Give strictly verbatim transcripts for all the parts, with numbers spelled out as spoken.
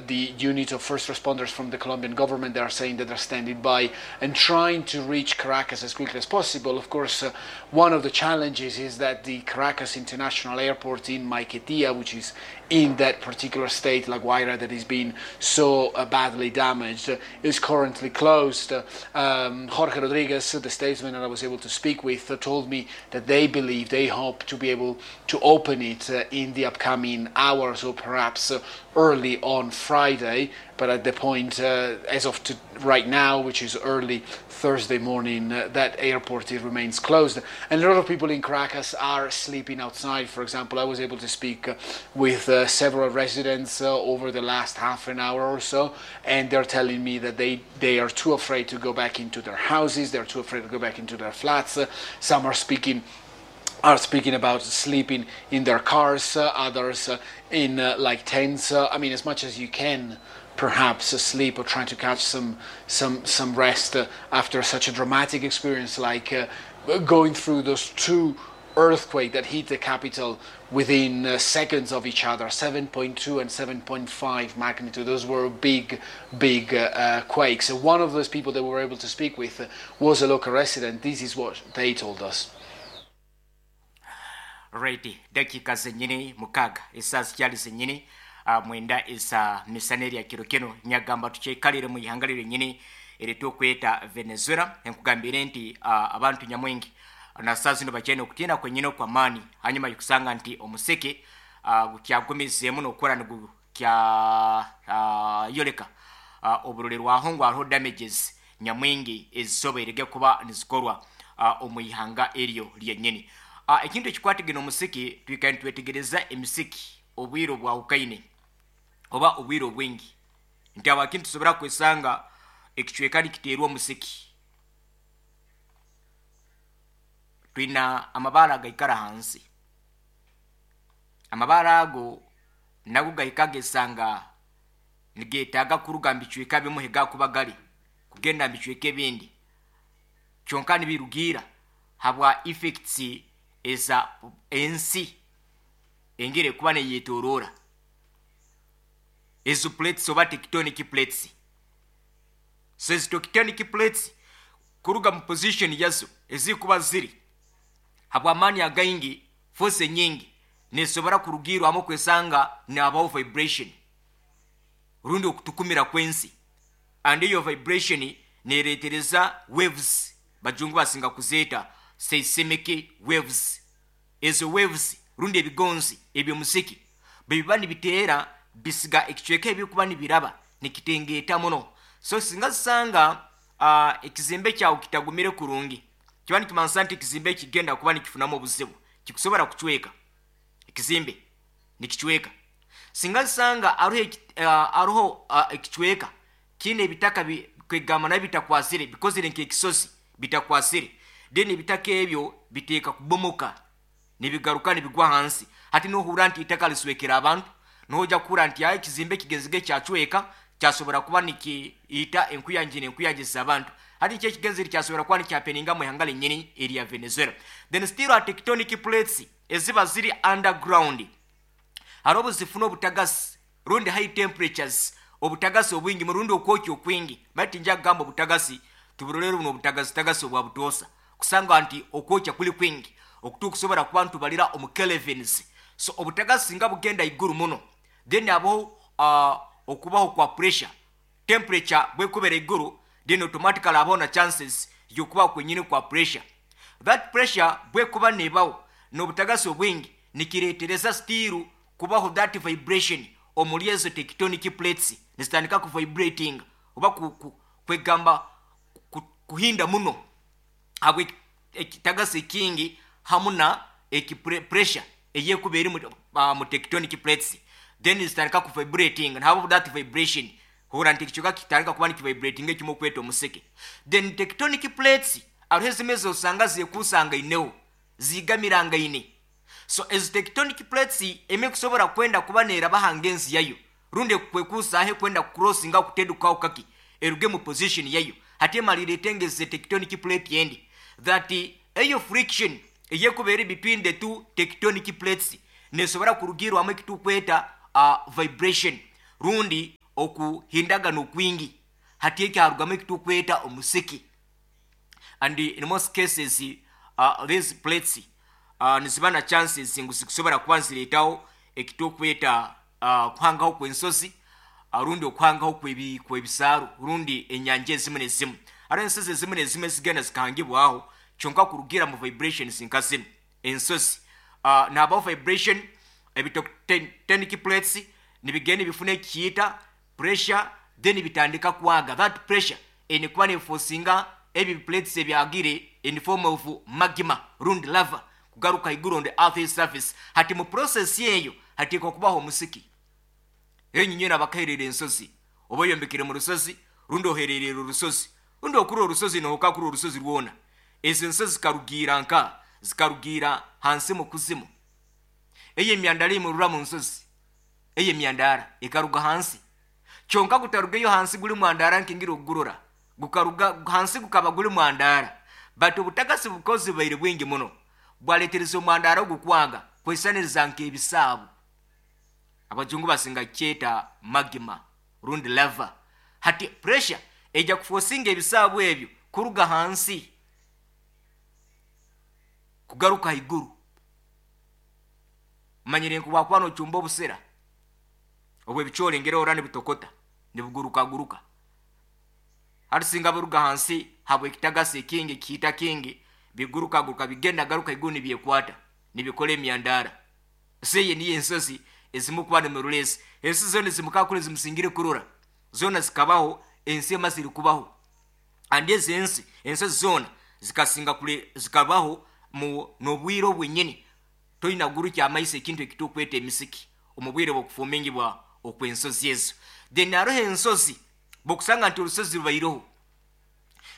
The unit of first responders from the Colombian government, they are saying that they're standing by and trying to reach Caracas as quickly as possible. Of course, uh, one of the challenges is that the Caracas International Airport in Maiquetía, which is in that particular state, La Guaira, that is being so uh, badly damaged, uh, is currently closed. Um, Jorge Rodriguez, the statesman that I was able to speak with, uh, told me that they believe, they hope to be able to open it uh, in the upcoming hours or perhaps uh, early on Friday. But at the point, uh, as of to right now, which is early Thursday morning, uh, that airport, it remains closed. And a lot of people in Caracas are sleeping outside. For example, I was able to speak uh, with uh, several residents uh, over the last half an hour or so, and they're telling me that they, they are too afraid to go back into their houses, they're too afraid to go back into their flats. Uh, some are speaking are speaking about sleeping in their cars, uh, others uh, in uh, like tents. Uh, I mean, as much as you can perhaps uh, sleep or trying to catch some some some rest uh, after such a dramatic experience like uh, going through those two earthquake that hit the capital within uh, seconds of each other, seven point two and seven point five magnitude. Those were big, big uh, uh, quakes. And one of those people that we were able to speak with uh, was a local resident. This is what they told us. Right, dakiika zenyini mukaaga esaawa zikyali zenyini uh, mwenda eza misana erya kiro kino. Nyagamba tukyekalire mu ihanga lyenyini eritukweta Venezuela. Enkugambire nti uh, abantu nyamwingi na saa zino bakyalina okutiina kwenyini okwamaani hanyuma yokusanga nti omuseke uh, gukyagumizeemu nokukora nigukya uh, yoleka uh, oburolerwaho ngu hariho damages nyamwingi ezisoboirege kuba nizikorwa uh, omu ihanga eryo lyenyini. uh, ekintu ekikwatagana omusiki, twikare nitwetegereza emisiki obwire obwahukaine oba obwire obwingi nti abakintu tusobora kwesanga ekicweka nikiteerwa omusiki. Twina amabaara agaikara hansi, amabaara ago nago gahika gesanga nigetaaga kuruga mu bicweka bimu gakuba gali kugenda mu bicweka ebindi, kyonka nibirugiira habwa effects eza ensi engeri ekuba neyetoroora, ezo plates oba tectonic plates. So ezo tectonic plates kuruga mu position yazo ezikuba ziri habwamaani againgi, force enyingi nesobora kurugirwamu kwesanga nabaho vibration rundi okutukumira kwensi, and eyo vibration neretereza waves, bajungu basinga kuzeeta seismic waves. Ezo waves rundi ebigonzi ebyomusiki bwebiba nibiteera bisiga ekicweka ebikuba nibiraba nikitengeeta muno. So singa zisanga uh, ekizimbe kyawe kitagumire kurungi, kiba nikimanisa nti ekizimbe kigenda kuba nikifunamu obuzibu, kikusobora kucweka, ekizimbe nikicweka. Singa zisanga aruho uh, aruho uh, ekicweka kiine ebitaka kwegamba nabyo bitakwasire, bikozire nk'ekisozi bitakwasire, then ebitaka ebyo biteeka kubomoka nibigaruka nibigwa hansi. Hati nohura nti itaka liswekera abantu, noja kuhura nti ayi ekizimbe kigenzige kyacweka, kyasobora kuba nikiita enkuyanja nenkuyanja abantu. Hati nikyo ekigenzere kyasobora kuba nikyahappeninga mu ihanga lenyini erya Venezuela. Then still a tectonic plates eziba ziri underground hariho obuzifuna obutagasi rundi high temperatures, obutagasi obwingi murundi okwokya okwingi. Bati nja kugamba obutagasi tuburolere buno obutagasi tagasi obwa butoosa, kusanga nti okwokya kuli kwingi okutukusobora kuba ntubalira omu kelvins. So obutagasi nga bugenda iguru muno, then abaho uh, okubaho kwa pressure. Temperature bwekubera iguru, then automatically abaho na chances yokubaho kwenyini kwa pressure. That pressure bwekuba nebaho n'obutagasi obwingi, nikiretereza still kubaho that vibration omuri ezo tectonic plates, nizitandika ku vibrating oba ku, ku, kwegamba ku, kuhinda muno habwe ekitagasi ekingi hamu na eki pressure eyekuba eri mu, uh, mu tectonic plates. Then zitandika ku vibrating nabo that vibration hura nti ekikyuka kitandika kuba nikivibrating ekimu okweta omuseke. Then tectonic plates hariho ezimwe zosanga zekusangaine zigamirangaine. So ezo tectonic plates emwe kusobora kwenda kuba neraba hangenzi yayo rundi kwekusahe kwenda crossinga kutedukaho kaki eruge mu position yayo, hati emalire etengeze tectonic plate yendi that eyo friction eyekuba eri between the two tectonic plates nesobora kurugirwamu ekitukweta uh, vibration. Rundi okuhindagana okwingi hati ekyarugamu ekitukweta omusiki. And in most cases uh, these plates uh, niziba na chances ngu zikusobora kuba nzireetaho ekitukweta uh, kuhangaho kw'ensozi uh, rundi okuhangaho kwebi- kw'ebisaaru rundi enyanja ezimu nezimu. Hariho ensozi ezimu nezimu ezigenda zikahangibwaho kyonka kurugira mu vibrations nka zinu ensozi uh, nabaho vibration ebitectonic plates nibigenda bifuna ekiyita pressure, then bitandika kwaga. That pressure enikuba neforcinga ebi plates ebyagire in form of magma rundi lava kugaruka iguru on the earth surface. Hati mu process eyo hateekwa kubaho omusiki. Enyinyi nabakaherera ensozi oba oyombekere mu rusozi rundi ohererera orusozi rundi okuri orusozi nohoka kuri orusozi rwona. Ezo ensozi zikarugiira nka zikarugiira hansi mu kuzimu. Eyo emyandara emurura mu nsozi, eyo emyandara ekaruga hansi kyonka gutarugeyo hansi guli mwandara nkingira okugurora gukaruga hansi gukaba guli mwandara, but obutagasi bukozi bubaire bwingi muno bwaletereza omwandara ogukwaga kwesaniriza nk'ebisaabu. Abajungu basinga kyeta magma rundi lava. Hati pressure ejja kufosinga ebisaabu ebyo kuruga hansi kugaruka haiguru. Manyire nku bwakuba nochumba obusera obwo ebicoori ngera ora nibitokota nibugurukaguruka, hati singa buruga hansi habwekitagasi ekingi kiita kingi bigurukaguruka bigenda garuka iguru nibyekwata nibikora emyandara. Seye niyo ensozi ezimu kuba nimirulesi ensi zona zimukakure zimusingire kurora zona zikabaho ensi emazire kubaho. Andi ezi ensi ensozi zona zikasinga kule zikabaho mu n'obwire obwenyini toyina gurukya amaiso ekintu ekitukweta emisiki omu bwire bw'okufumingibwa okw'ensozi ezo. Then hariho ensozi bokusanga nti orusozi rubaireho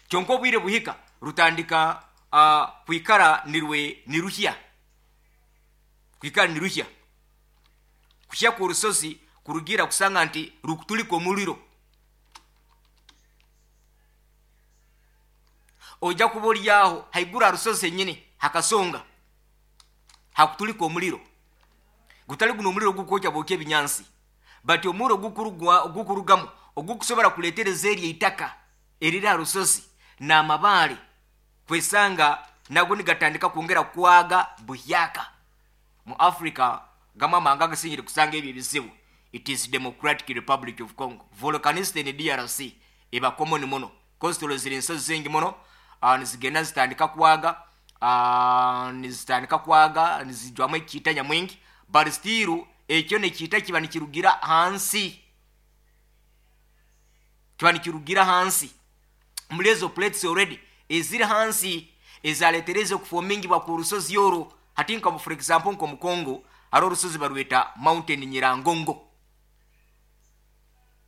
kyonka obwire buhika rutandika uh, kwikara nirwe niruhya kwikara niruhya kuhya kw'orusozi kurugira kusanga nti rukutulika omuriro. Ojja kuba oryaho haiguru aha rusozi henyini hakasonga hakutulika omuriro gutali guno omuriro gukwokya bwokya ebinyansi, but omuriro gukurugwa gukurugamu ogukusobora kuletereza eryo eitaka eriri aha rusozi n'amabaare kwesanga nago nigatandika kwongera kwaga buhyaka. Mu Africa gamwe amahanga agasingire kusanga ebyo ebizibu, it is Democratic Republic of Congo. Volcanicity in D R C eba common muno cause tulozire ensozi zingi muno uh, nizigenda zitandika kwaga uh, nizitandika kwaga nizijwamu ekiita nyamwingi, but still ekyo nekiita kiba nikirugira hansi kiba nikirugira hansi muri ezo plates already eziri hansi ezaletereza okufomingibwa ku rusozi orwo. Hati nka for example nko mu Congo hariho orusozi barweta Mountain Nyirangongo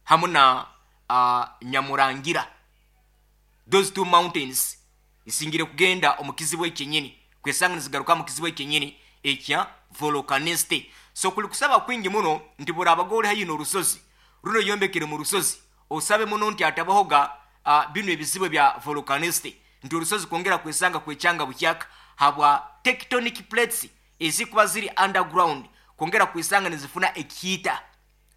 hamu na uh, Nyamurangira. Those two mountains isingire kugenda omu kizibu ekyenyini kwesanga nizigaruka mu kizibu ekyenyini ekya volcanicity. So kuli kusaba kwingi muno nti burabaga ori haihi n'orusozi runo yombekere mu rusozi osabe muno nti atabahoga uh, bino ebizibu bya volcanicity nti orusozi kwongera kwesanga kwekyanga bukyaka habwa tectonic plates ezikuba ziri underground kwongera kwesanga nizifuna ekiita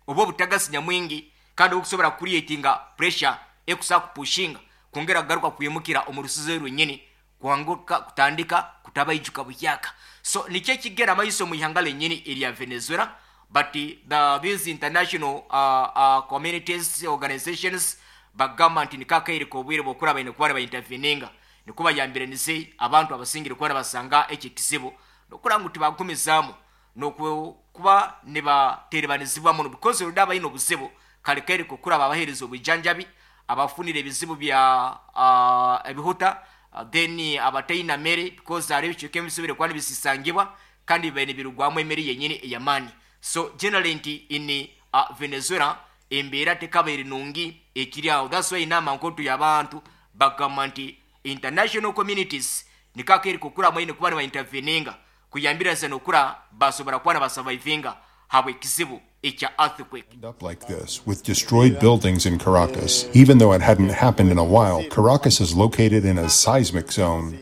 oba obutagasi nyamwingi kandi okusobora creatinga pressure ekusa kupushinga kwongera kugaruka kwimukira omu rusozi rwenyini kwanguka kutandika kutabaijuka buhyaka. So nikyo ekigera amaiso mu ihanga lenyini erya Venezuela, but the, these international uh, uh, communities organizations bagamba nti nikakaire k'obwire bw'okuraba baine kuba nibainterveninga nikuba yambiranize abantu abasingire kuba nibasanga ekyo ekizibu n'okuraba ngu tibagumizaamu n'okuba nibaterebanizibwa muno because oludde abalina obuzibu kale kaire k'okuraba abaheereza obwijanjabi abafunire ebizibu bya uh, ebihuta uh, then abataina mere because hariho ebicweka ebisubire kuba nibisisangibwa kandi bibaire nibirugwamu emere yenyini ey'amaani. So generally nti in uh, Venezuela embeera tekabaire nungi ekiri aho. That's why inama nkotu y'abantu bagamba nti international communities nikakaire k'okura mwine kuba nibainterveninga kuyambiriza n'okura basobora kuba nibasurvivinga habwa ekizibu ekya earthquake. End up like this, with destroyed buildings in Caracas. Even though it hadn't happened in a while, Caracas is located in a seismic zone.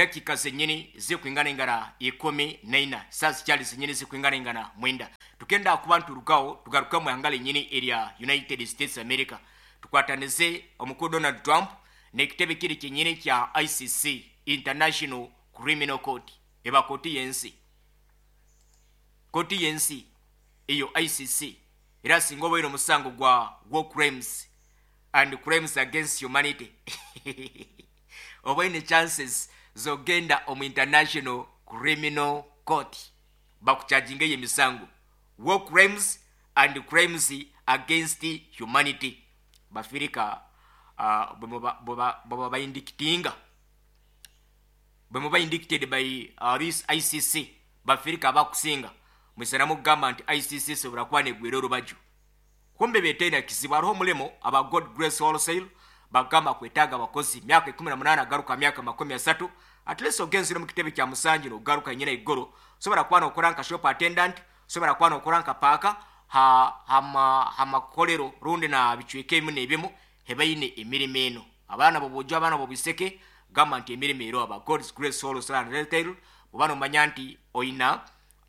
Dakika zenyini zikuingana ingana ikumi naina, saa zikyali zenyini zikuingana ingana mwenda. Tukenda kuba nturugaho tugaruka mu ihanga lenyini erya United States America, tukwatanize omukuru Donald Trump n'ekitebe kiri kyenyini kya I C C, International Criminal Court, eba kooti y'ensi, kooti y'ensi eyo I C C era singa obaire omusango gwa war crimes and crimes against humanity obaine chances zogenda omu International Criminal Court bakucharginga eyo emisango war crimes and crimes against humanity. Bafirika uh, bwe baindikitinga, bwe muba indicted by uh, this I C C, bafirika abakusinga mwisana mugamba nti I C C sobora kuba negwera orubaju, kumbe betena kizibu. Hariho omulimo aba God Grace Wholesale bagamba kwetaaga abakozi myaka ikumi na munaana garuka myaka makumi asatu, at least ogenzire mu kitebe kya musanju nogaruka nyina igoro, sobora kuba nokora nka shop attendant, sobora kuba nokora nka paaka ha hama hamakolero rundi na bicweka ebimu n'ebimu hebaine emirimo eno. Abaana bobujo, abaana bobiseke, gamba nti emirimo ero aba God's Grace Wholesale and Retail. Bw'oba nomanya nti oyina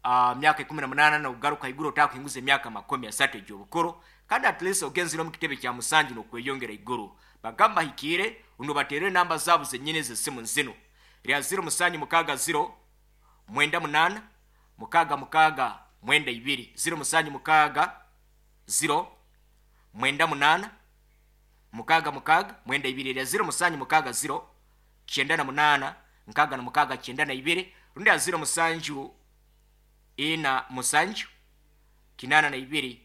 uh, myaka ikumi na munaana nogaruka iguru otakuhinguza emyaka makumi asatu egy'obukuru, kandi at least ogenzire omu kitebe kya musanju nokweyongera iguru, bagamba hikiire uno bateere enamba zaabo zenyini z'essimu zino lya ziro musanju mukaaga ziro mwenda munaana mukaaga mukaaga mwenda ibiri, ziro musanju mukaaga ziro mwenda munaana mukaaga mukaaga mwenda ibiri, lya ziro musanju mukaaga ziro kyenda na munaana nkaaga na mukaaga kyenda na ibiri, rundi ya ziro musanju ina musanju kinana na ibiri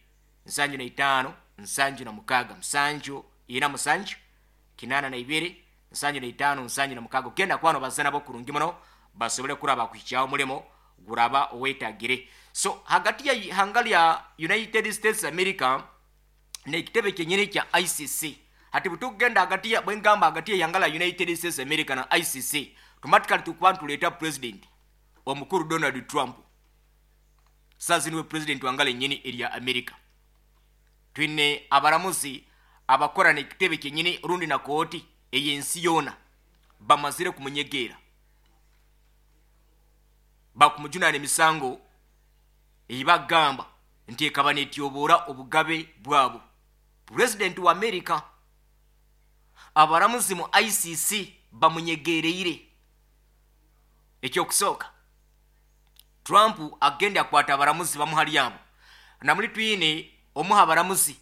nsanju na itaano nsanju na mukaaga, musanju ina musanju kinana na ibiri nsanju na itaano nsanju na mukaaga. Ogenda kwano bazana bo kurungi muno basobole kuraba kuhikyaho omulimo guraba owetagire. So hagati ya ihanga lya United States America n'ekitebe kyenyini kya I C C, hati bwetugenda hagati ya bwengamba hagati ya ihanga lya United States America na I C C, automatically tukuba ntuleeta president omukuru Donald Trump. Sasa niwe president wangala nyini erya America. Twine abaramuzi abakora n'ekitebe kyenyini rundi na kooti ey'ensi yoona bamazire kumunyegera, bakumujunana emisango eyibagamba nti ekaba netyobora obugabe bwabo. President wa America abaramuzi mu I C C bamunyegereire. Ekyokusooka, Trump agenda akwata abaramuzi bamuhali abo, namuli twine omuha abaramuzi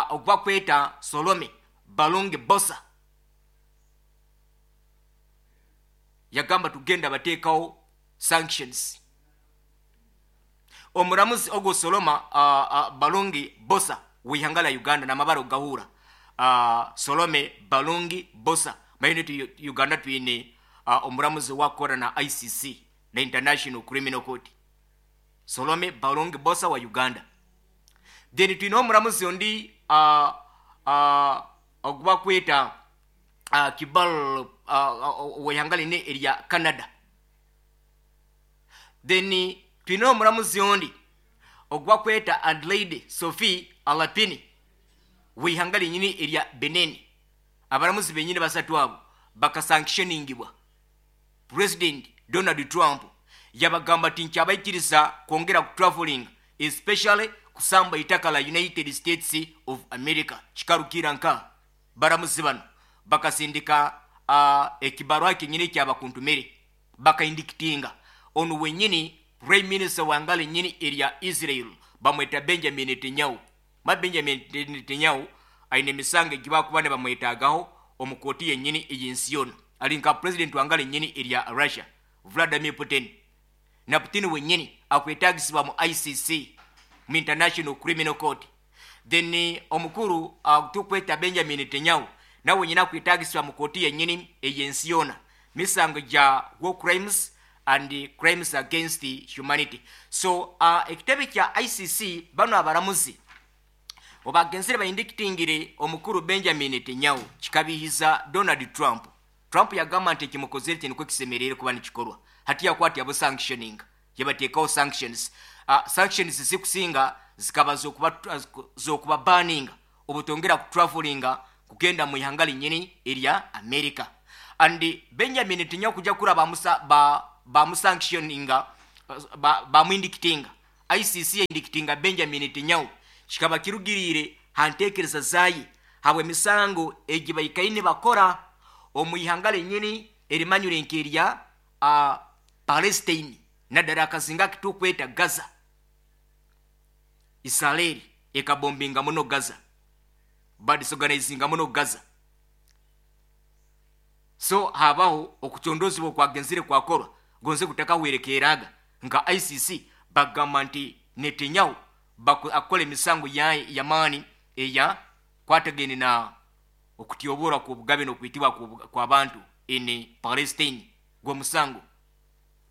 ogwa kweta Solome Balonge Bosa, yagamba tugenda bateekawo sanctions. Omuramuzi ogwo Soloma uh, uh, Balonge Bosa w'ihanga lya Uganda n'amabara ogahura uh, Solome Balonge Bosa mayine tu Uganda twine uh, omuramuzi wakora na I C C na International Criminal Court, Solome Balonge Bosa wa Uganda. Then twine omuramuzi ondi uh, uh, ogwa kweta uh, Kibal uh, w'ihanga line erya Canada. Then twine omuramuzi ondi ogwa kweta Adelaide Sophie Alapini w'ihanga linyini erya Benin. Abaramuzi benyini basatu abo bakasanctioningibwa. President Donald Trump yabagamba nti nkyabaikiriza kwongera ku traveling, especially kusamba itaka la United States of America. Kikarukira nka baramuzi bano bakasindika uh, ekibarwa kyenyini kyabakuntumire, bakaindikitinga ono wenyini Prime Minister wangale nyini erya Israel bamweta Benjamin Netanyahu. Ma Benjamin Netanyahu aine emisango egibakuba ne bamwetaagaho omu kooti yennyini ey'ensi yona. Ali nka president wangale nyini erya Russia Vladimir Putin, na Putin wennyini akwetaagisibwa mu I C C, mu International Criminal Court. Then omukuru uh, tukweta Benjamin Netanyahu nawe wenyini akwetaagisibwa mu kooti yennyini ey'ensi yona, misango gya war crimes and crimes against humanity. So uh, ekitebe kya I C C bano abaramuzi obagenzere bayindikitingire omukuru Benjamin Netanyahu kikabihiza Donald Trump. Trump yagamba nti ekimukozere kye nikwo kisemerere kuba nikikorwa. Hati yakwata yabo sanctioning, yabateekawo sanctions. Uh, sanctions zikusinga zikaba zokuba, zokuba banning obutongera ku travelinga kugenda mu ihanga linyini erya America. And Benjamin Netanyahu kujja kura bamusa ba bamusanctioninga, bamuindictinga, I C C indictinga Benjamin Netanyahu, kikaba kirugirire hantekereza zayi habwe emisango egi baikaine bakora omu ihanga lenyini erimanyire nkerya uh, Palestine, naddala akazinga kitukweta Gaza. Israeli ekabombinga muno Gaza, badisorganizinga muno Gaza. So habaho okucondozibwa okwagenzire kwakorwa gonze kutakahwerekeraga nka I C C bagamba nti Netanyahu akola emisango yamaani eya kwatagene na okutyobora ku bugabe n'okwitibwa kw'abantu in Palestine. Gwe musango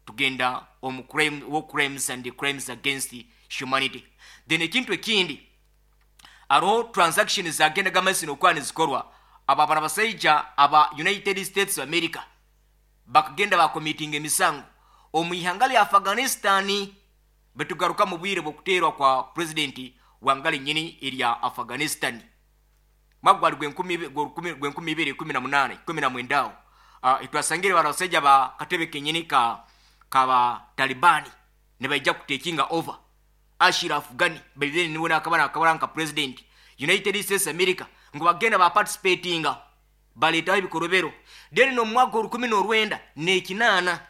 tugenda omu crime, war crimes and crimes against humanity. Then ekintu ekindi, aroho transaction zagendaga maiso nokuba nizikorwa abo abana basaija aba United States of America bakagenda bakomitinga emisango omu ihanga lya Afghanistan. Betugaruka mu bwire bw'okuteerwa kwa pulezidenti wangale nyini erya Afghanistan, mwaka gwali gwenkumi ibiri kumi na munane, kumi na mwenda awo. uh, itwasangire bano basajja ba katebe kenyini ka kaba Talibani ne baija kutakinga over Ashraf Ghani, by then niwe nakabana akabara nka president. United States America ngo bagenda ba participatinga, baletaho ebikorobero. Then no mwaka olukumi n'olwenda n'ekinaana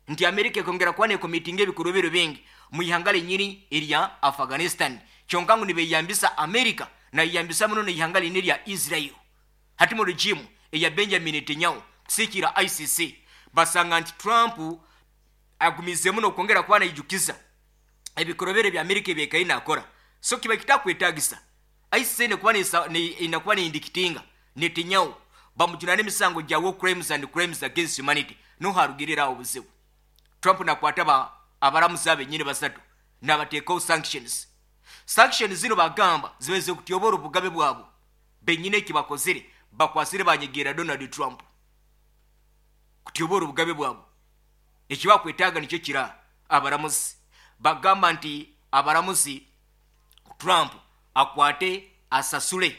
nti America ekongera kuba nekomitinga ebikorobero bingi mu ihanga lenyini erya Afghanistan, kyonka ngu nibeyambisa America nayambisa muno neihanga lini erya Israel. Hati mu regime eya Benjamin Netanyahu kusikira I C C basanga nti Trump agumizemu nokwongera kuba naijukiza ebikorobero bya Amerika ebyekaine nakora. So kiba kitakwetagisa I C C nekuba inakuba neindictinga Netanyahu bamujunana emisango gya war crimes and crimes against humanity. Noharugirirawo obuzibu, Trump nakwata ba abaramuzi abenyini basatu nabateekawo sanctions. Sanctions zino bagamba zibeze kutyobora obugabe bwabo benyini. Ekibakozire, bakwasire banyegeera Donald Trump kutyobora obugabe bwabo. Ekibakwetaaga nikyo kira abaramuzi bagamba nti abaramuzi Trump akwate asasule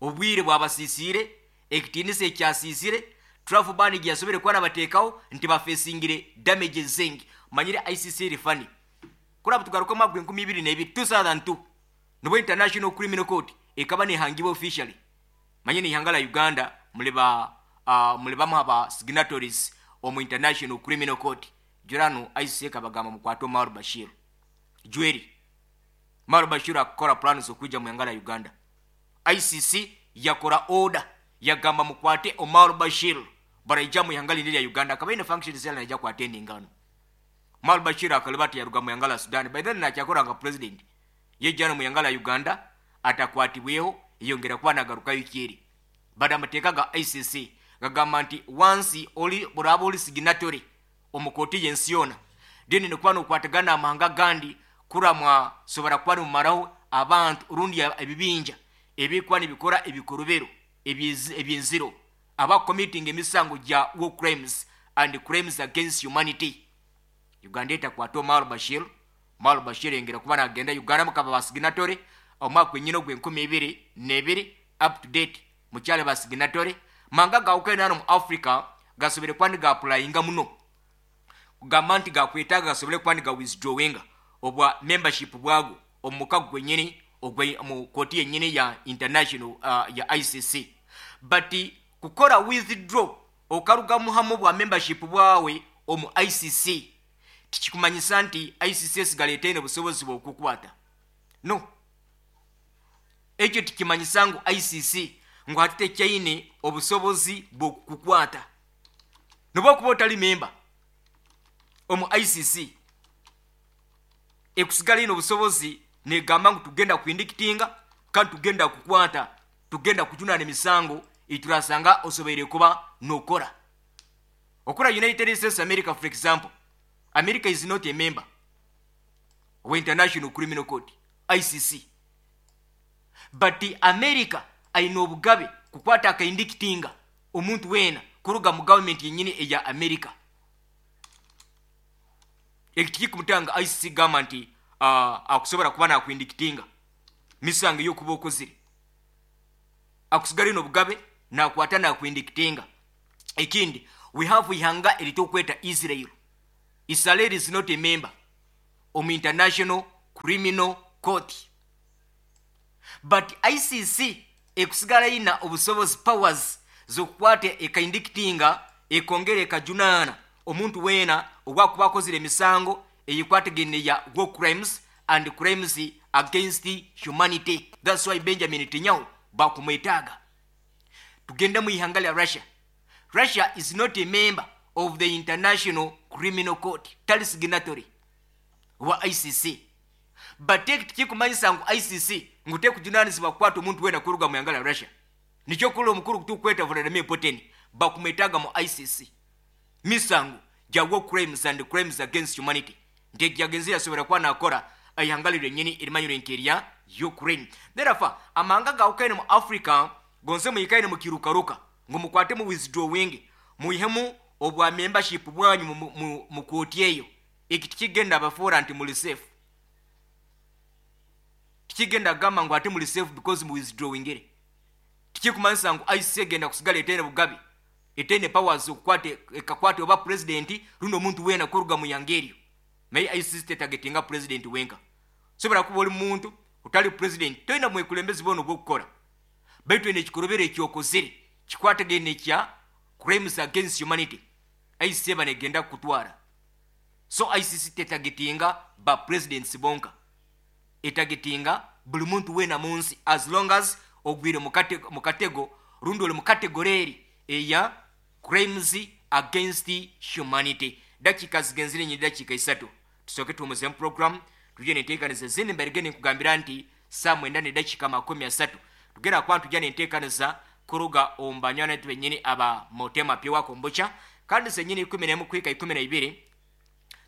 obwire bwabasisiire, ekitiinisa ekyasiisire Trump bani gyasobere kuba nabateekawo nti bafesingire damages zengi. Manyire I C C eri fani kuraba. Tugaruka omwaka gwenkumi ibiri nebiri, two thousand two, nibwo International Criminal Court ekaba nehangibwa officially. Manye nihanga la Uganda muliba uh, muli bamu aba signatories omu International Criminal Court. Jurano I C C ekabagamba mukwate Omar Bashir. Jweri Omar Bashir akakora plans okuija mu ihanga la Uganda. I C C yakora order, yagamba mukwate Omar Bashir baraija mu ihanga lindi lya Uganda, akaba ine functions yala naija kuattendinga. Omar Bashir akaliba ati yaruga mu ihanga la Sudan, by then nakyakora nga president, yejjano mu ihanga la Uganda atakwatibweho, yongera kuba nagarukayo kyeri. Bada amateeka ga I C C gagamba nti wansi oli buraba oli signatory omu kooti y'ensi yona, then nikuba nokwatagana amahanga gandi kuramwa sobora kuba nimumaraho abantu rundi ebibinja ebikuba nibikora ebikorobero ebyenziro, aba committing emisango gya war crimes and crimes against humanity. Uganda etakwata Omar Bashir. Omar Bashir yongera kuba nagenda Uganda mukaba ba signatory omwaka gwenyina ogw'enkumi ibiri n'ebiri, up to date mukyale ba signatory. Manga gawukene hano mu Africa gasobere kuba nigapulayinga muno kugamba nti gakwetaaga gasobole kuba niga withdrawinga obwa membership bwago omu mukago gwenyini mu kooti yenyini ya international uh, ya I C C. But kukora withdraw okarugamu hamu bwa membership bwawe omu I C C tikikumanyisa nti I C C esigala etaine obusobozi bwokukwata. No, ekyo tikimanyisa ngu I C C ngu hati tekyaine obusobozi bwokukukwata. Noba okuba otali memba omu I C C, ekusigala ine obusobozi negamba ngu tugenda kuindictinga kandi tugenda kukwata, tugenda kujunana emisango iturasanga osoboire kuba nokora okora. United States America, for example, America is not a member of International Criminal Court, I C C, but America ayina obugabe kukwata akaindictinga omuntu weena kuruga mu gavumenti yenyini eya America. Ekyo tikikumutanga I C C gamba nti uh, akusobola kuba nakuindictinga misango eyokuba okozire. Akusigala ino obugabe nakwata nakuindictinga. Ekindi, we have ihanga eritokweta Israel. Israel is not a member omu International Criminal Court, but I C C ekusigala ina obusobozi, powers zokukwata ekaindictinga, ekongera ekajunaana omuntu weena obwakuba akozire emisango eyikwatagene ya war crimes and crimes against humanity. That's why Benjamin Netanyahu bakumwetaaga. Tugende mu ihanga lya Russia. Russia is not a member of the International Criminal Court, tali signatory wa I C C, but tikikumanyisa ngu I C C ngu tekujunanizibwa kukwata omuntu wena kuruga mu ihanga lya Russia. Nikyo kuli omukuru kutukweta Vladimir Putin bakumwetaaga mu I C C, misango gya war crimes and crimes against humanity, nti egyagenzi yasobora kuba nakora ihanga lyenyini erimanyire nti erya Ukraine. Therefore amahanga gawukaine mu Africa gonse muyikaine mukirukaruka ngu mukwate mu withdrawing, muihemu obwa membership bwanyu mu- mu- mu kooti eyo. Eki tikigenda abafuura nti muli safe. Tikigenda kugamba ngu ate muli safe because mu withdrawingire. Tikikumanyisa ngu I C C egenda kusigala etaine bugabi, etaine powers okukwata ekakwata oba president rundi omuntu weena kuruga mu yanga eryo. Naye I C C tetargetinga president wenka. Sobola kuba oli muntu otali president, tolina mwekulembezi bwona obwokukora, baitu ene ekikorobero ekyokozere kikwatagene ekya crimes against humanity, I C C eba negenda kukutwara. So I C C tetargetinga ba presidents bonka, etargetinga buli muntu weena mu nsi as long as ogwire mu kate- mu katego rundi oli mu category eri eya crimes against humanity. Dakika zigenzire nyi dakika isatu, tusooke tuwumuzemu program, tujye nenteekaniza ezindi. Mbarige nenkugambira nti saa mwenda nedakika makumi asatu tugenda kuba tujja nenteekaniza kuruga omu banywani benyini aba Motema Pure Kombucha. Kandi senyini ikumi nemu kuhika ikumi na ibiri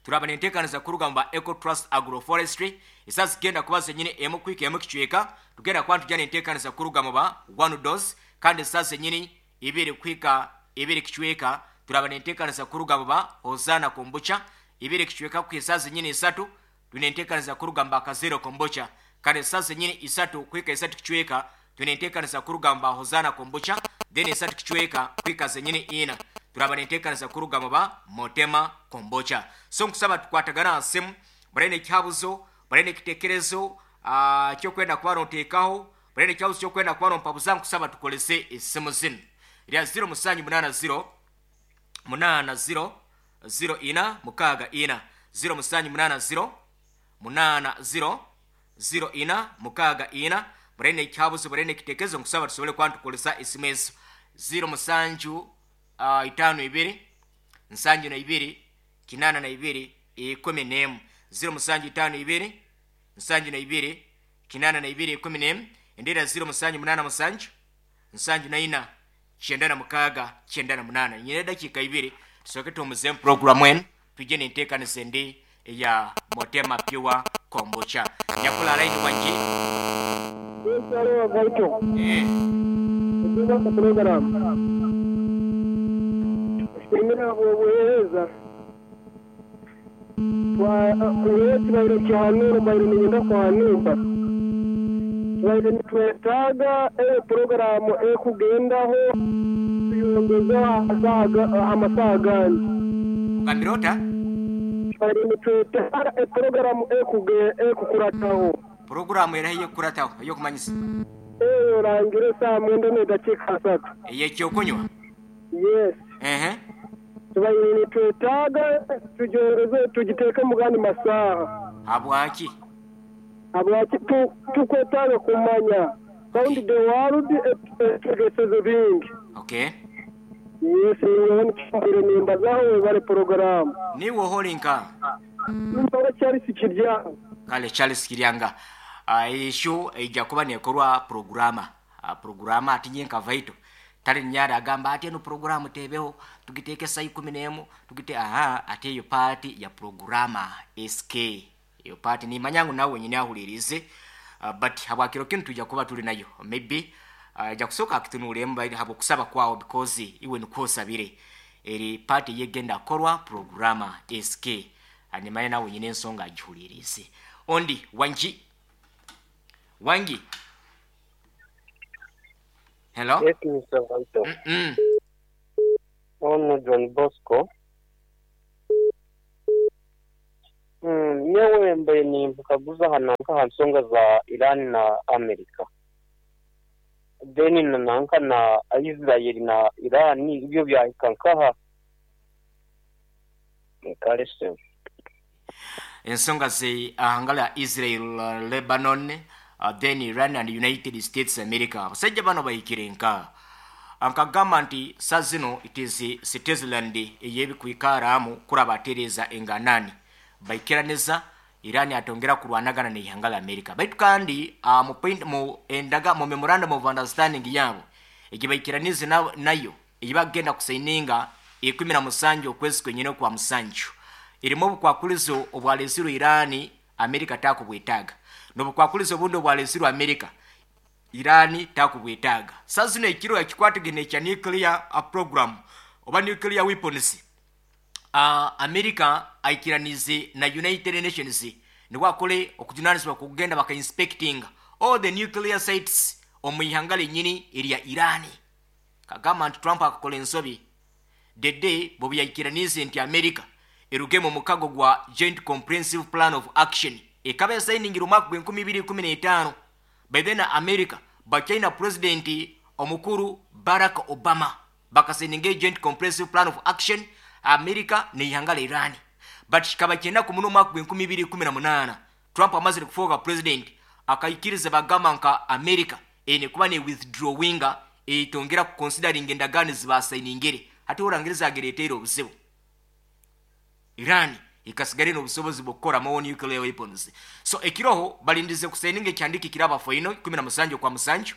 turaba nenteekaniza kuruga mu ba Eco Trust Agroforestry. Esa zigenda kuba zenyini emu kuhika emu kicweka, tugenda kuba tujja nenteekaniza kuruga mu ba One Dose. Kandi esa zenyini ibiri kuhika ibiri kicweka turaba nenteekaniza kuruga mu ba Hozana Kombucha. Ibiri kicweka kuhika esa zenyini isatu tunenteekaniza kuruga mu ba Kazero Kombucha. Kandi esa zenyini isatu kuhika isatu kicweka tunenteekaniza kuruga mu ba Hozana Kombucha. Then esatu kicweka kuhika zenyini ina turaba nenteekaniza kuruga mu ba Motema Kombucha. So nkusaba tukwatagana asimu barene ekihabuzo, barene ekitekerezo uh, kyokwenda kuba noteekaho, barene ekihabuzo kyokwenda kuba nompabuza. Nkusaba tukolese esimu zinu erya zero musanju munaana zero munaana zero zero ina mukaaga ina, zero musanju munaana zero munaana zero zero ina mukaaga ina. Barene ekihabuzo, barene ekitekerezo, nkusaba tusobole kuba ntukolesa esimu ezo. zero musanju uh, itaano ibiri nsanju na ibiri kinaana na ibiri ikumi n'emu, zero musanju itaano ibiri nsanju na ibiri kinaana na ibiri ikumi n'emu. Endeera zero musanju munaana musanju nsanju na ina kyenda na mukaaga kyenda na munaana. Nyina edakiika ibiri tusooke tuwumuzemu puroguramu enu, tujje nenteekaniza endi eya Motema Pure Kombucha. Nyakula layini, wangi? Alo, Vaito. Eh. Okuba program. Tushimira obuheereza. Twa tubaire kihanura mbaire nigenda kuhanura. Tubaire nitwetaaga eyo porogaramu ekugendaho tuyongeza amasaha agandi. Ogambire ota? Tubaire nitwetaaga eporogaramu ekukurataho. Puroguramu eraho eyokukurataho eyokumanyisa? Eyo orangire saa mwenda n'edakiika asatu. Eyekyokunywa? Yes. Ehe. Tubaire nitwetaaga tugyongeze tugiteeke mu gandi masaha. Habwaki? Habwaki tukwetaaga kumanya round the world etugeseze bingi. Okay. Yes, nyowe nikimbire nimbazaho, webale porogaramu. Niwe oholinka? Nimpora Charles Kiryanga. Kale, Charles Kiryanga, uh, esho ejja kuba nekorwa programa uh, programa ati nyenka vaito tali nyara agamba ati eno programu tebeho, tugiteeke saa ikumi n'emu tugite aha. Ate eyo part ya programa sk eyo part nimanyangu nawe wenyini ahulirize, uh, but habwakiro kinu tujja kuba tuli nayo maybe uh, ejja kusooka akitunuulemu habwokusaba kwawo, because iwe nikwosabire eri part yegenda korwa programa sk nimanye nawe wenyini ensonga agihulirize. Ondi wangi, wangi, hello? Yes, Mister Vaito. Mm -mm. Ono John Bosco. Mm, nyewe mbaye nimbukaguza hananka hansonga za Iran na Amerika. Deni na nanka na Israel na Iran ibyo byahikankaha. Kalese. Ensonga ze ahangala Israel, Lebanon, uh, then Iran and United States America. Abasajja bano bahikire nka ankagamba nti sazino it is Switzerland eyebikwikaramu kurabatereza enganani baikiraneza Iran atongera kurwanagana ne ihanga la America. Baitu kandi uh, mu point mu endaga mu memorandum of understanding yabo egibaikiranize na, nayo eyibagenda kusaininga ikumi na musanju okwezi kwenyine kwa musanju irimo obukwakulizo obwalezirwe Irani America takubwetaga n'obukwakulizo obundi obwalezirwe America Irani takubwetaga. Sazino ekiro ekikwatagene kya nuclear program oba nuclear weapons uh, America aikiranize na United Nations niwakole okujunanizibwa kugenda baka inspecting all the nuclear sites omu ihanga lenyini erya Irani. Kagamba nti Trump akakola ensobi dede bobi yaikiranize nti America eruge mu mukago gwa Joint Comprehensive Plan of Action ekaba yasayiningira omwaka gwa enkumi ibiri ikumi n'etaano. By then America bachina president omukuru Barack Obama bakasayininga Joint Comprehensive Plan of Action America ne ihanga la Iran. But kikaba kyenda ku muno omwaka gwa enkumi ibiri ikumi na munaana Trump amazire kufuuka president akaikiriza bagamba nka America ene kuba ne withdrawinga etongera ku considering endagaano zibasayiningire ate orangiriza agereteera obuzibu. Iran ikasigare n'obusobozi bw'okukola more nuclear weapons. So ekiroho balindize kusayininga ekyandiki kiraba foino ikumi na musanju kwa musanju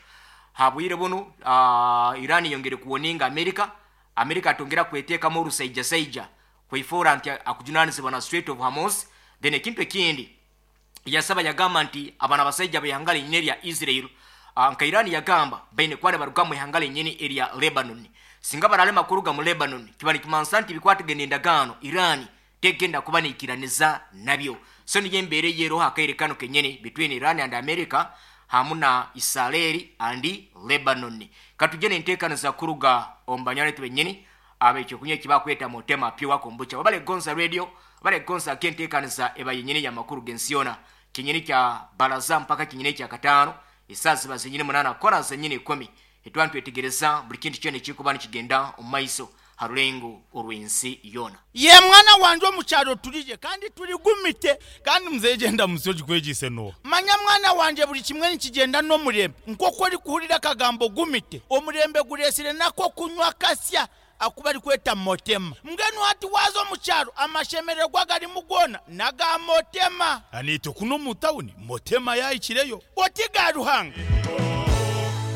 habwire buno uh, Iran yongere kuwoninga America. America atongera kweteekamu orusaija saija kweifuura nti akujunanizibwa na Strait of Hormuz. Then ekintu ekindi yasaba yagamba nti abana abasajja b'ihanga linyini erya Israel uh, nka Iran yagamba baine kuba baruga mu ihanga linyini erya Lebanon. Singa baralema kuruga mu Lebanon kiba nikimansa nti bikwatagene endagaano Iran tegenda kuba nikiraniza nabyo. So niyo embeera eyeroho akaire kano kenyini between Iran and America hamu na Israel and Lebanon. Katujene enteekaniza kuruga omu banywani benyini abekyokunywa ekibakweta Motema Pure Kombucha. Wabale Gonza Radio, wabale Gonza kenteekaniza eba yenyini ya makuru gensiona kinyini kya baraza mpaka kinyini kya katano esaawa ziba zenyini munana kora zenyini ikumi etwantu etegereza buli kintu kyona ekikuba nikigenda omu maiso harulengo orwensi yona. Ye mwana wanje omukyalo tulije kandi tuligumite kandi mzee genda musoji kwegise no. Manya mwana wanje buli kimwe nikigenda n'omurembe nk'oku ori kuhurira akagambo gumite omurembe guresire nako kunywa kasya akuba ari kweta Motema. Mbwenu hati waza omukyalo amashemererwa garimu gona naga Motema. Anito kuno mu tawuni Motema yayikireyo oti ga Ruhanga.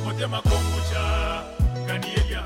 Motema kombucha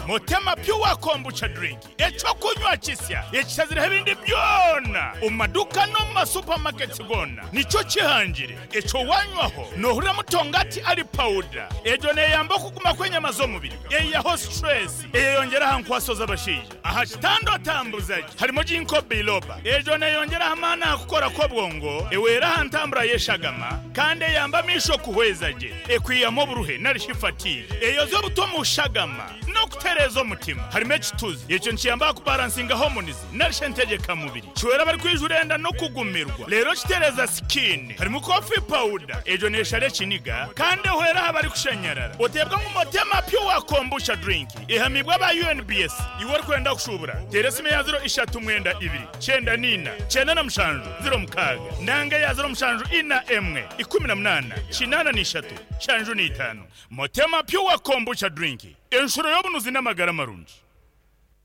Motema Pure Kombucha drink ekyokunywa kisya ekisaziraho ebindi byona omu maduka no mu masupamaketi gona nikyo kihangire ekyo wanywaho nohurira mutongati ari powder egyo neyamba okuguma kw'enyama z'omubiri eyaho stress eyeyongeraho nkwaso z'abashaija aha kitando atambuzagi harimo ginkgo biloba egyo neyongeraho amaani aha kukora kw'obwongo ewera aha ntambura y'eshagama kandi eyamba amisho kuhweza gye ekwiyamu oburuhe narishi fatigue eyoza obuto mu shagama n'okutereeza omutima harimo ekituzi ekyo nikiyamba kubalansinga hormones narishe entegeka mubiri kiwera bari kwijura enda n'okugumirwa leero kitereeza skin harimo coffee powder egyo neshara ekiniga kandi ehwera aha bari kushanyarara oteebwa ngu Motema Pure Kombucha drink ehamibwa aba U N B S iwe orikwenda kushubura teera esimu ya ziro ishatu mwenda ibiri kyenda nina kyenda na mushanju ziro mukaaga nanga ya ziro mushanju ina emwe ikumi na munana kinana n'ishatu shanju n'itaano. Motema Pure Kombucha drink enshuro y'obunuzi n'amagara marungi.